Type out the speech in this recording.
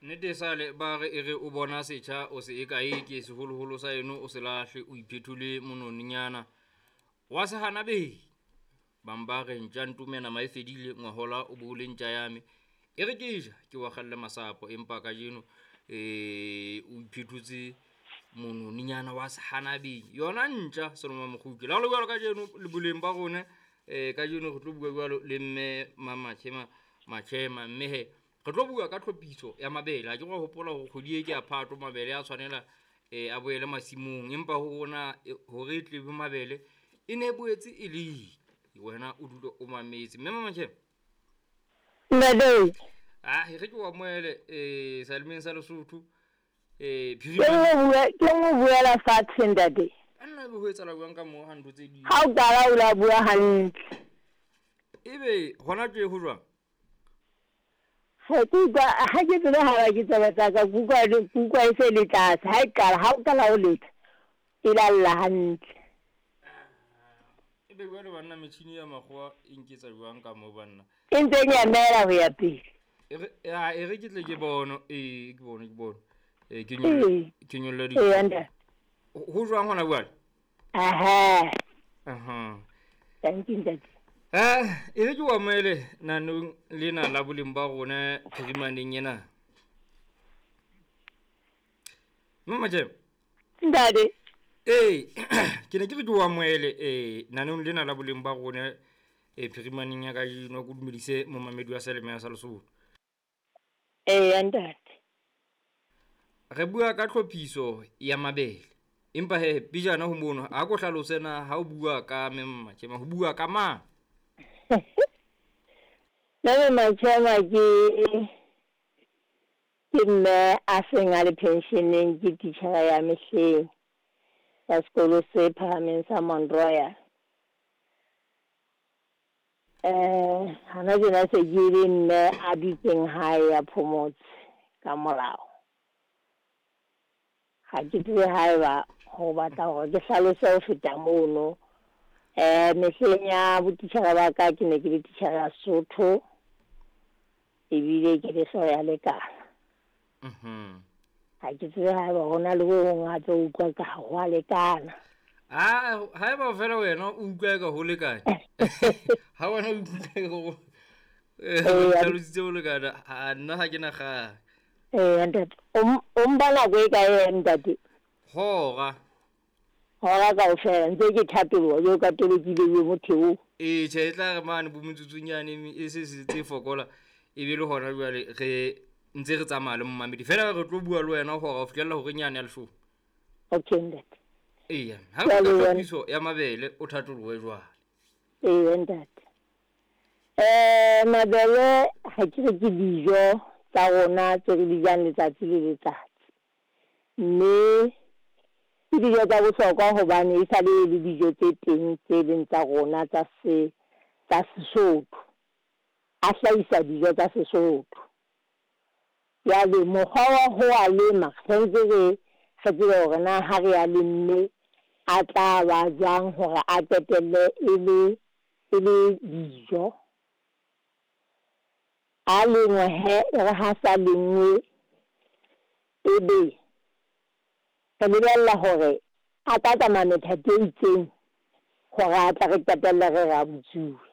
Nnete e sale ba re e re o bona setjha o se e kae ke seholoholo sa eno o se lahle o iphethole mononinyana wa se hana be. Bang ba re ntja ntume nama e fedile ngwahola o bo le ntja ya me. E re ke ja ke wa kgalle masapo empa kajeno o iphethotse mononinyana wa se hana be. Yona ntja seloma mokgutle. Le ha le jwalo kajeno le boleng ba rona kajeno re tlo bua jwalo le mme Mamatjhema Matjhema mme he re tlo bua ka tlhophiso ya mabele. Ha ke re hopola hore kgwedi e ke ya Phato mabele a tshwanela a boele masimong, empa ho rona hore e tle be mabele e ne e boetse e le wena o dule o mametse. Mme Mamatjhema Ntate. Ah, e re ke o amohele salemeng sa Lesotho. Ke nngwe buela fatshe ntate. Nna ebe ho etsahala jwang ka moo ha ntho tse di Ha o qala o la bua hantle. Ebe hona tje ho jwang? Ha ke utlwa ha ke tsebe ha ba ke tsebe tsa ka ke utlwa ke utlwa e se le tlase. Ha e qala ha o qala ho letsa e lalla hantle. Ebe jwale banna metjhini ya makgowa e nketsa jwang ka moo banna? E ntse e nyamela ho ya pele. E re ya e re ke tle ke bone ee ke bone ke bone. Ke nyolle ke nyolle di. Ee ntate. Ho jwang hona jwale? Aha. Aha. Thank you ntate. E re ke o amohele nanong lena la boleng ba rona phirimaneng ena. Mama Jem. Ntate. Ee, ke ne ke re ke o amohele nanong lena la boleng ba rona phirimaneng ya kajeno ko dumedise momamedi wa Seleme ya sa Lesotho. Ee ntate. Re bua ka tlhophiso ya mabele. Empa he pejana ho mono a ko hlalose na ha o bua ka Mme Matjhema ho bua ka mang? Mme Matjhema ke mme a seng a le pensioneng, ke titjhere ya mehleng ya sekolo se phahameng sa Mount Royal. Hana tjena se ke le mme a dutseng hae ya phomotse ka molao. Ha ke tsebe haeba ho batla hore ke hlalose ho feta mono. Mehleng ya botitjhere ba ka ke ne ke le titjhere ya Sesotho ebile ke le hlooho ya lekala. Ha ke tsebe haeba hona le ho hong hape o utlwa ka ho a lekana. Ah, haeba fela wena o utlwa ka ho lekana. Ha wena o utlwa ka ho hlalositse ho lekana, ha nna ha ke na kgang. Ntate, o mpa nako e kae ntate? Hora. Hora kaofela ntse ke thatoloha jwalo ka tolokile yo motho eo. Ee, tjhe e tla re mane bo metsotsonyane e se se tse fokola e be le hona jwale re ntse re tsamaya le momamedi. Fela re tlo bua le wena hora ho fihlella hore nyane ya leshome. Okay ntate. Eya, ha re ka tlhophiso ya mabele o thatolohe jwale. Ee ntate. Mabele ha ke re ke dijo tsa rona tse re di jang letsatsi le letsatsi. Mme ke dijo tsa bohlokwa hobane e sale le dijo tse teng tse leng tsa rona tsa se tsa Sesotho. A hlahisa dijo tsa Sesotho. Jwale mokgwa wa ho a lema tshwanetse re tsebe hore na ha re a lemme a tla ba jwang hore a qetelle e le dijo. A lengwe he e re ha sa lengwe ebe re lebella hore a tla tsamaya methati e itseng hore a tla re qetelle re re a butsuwe.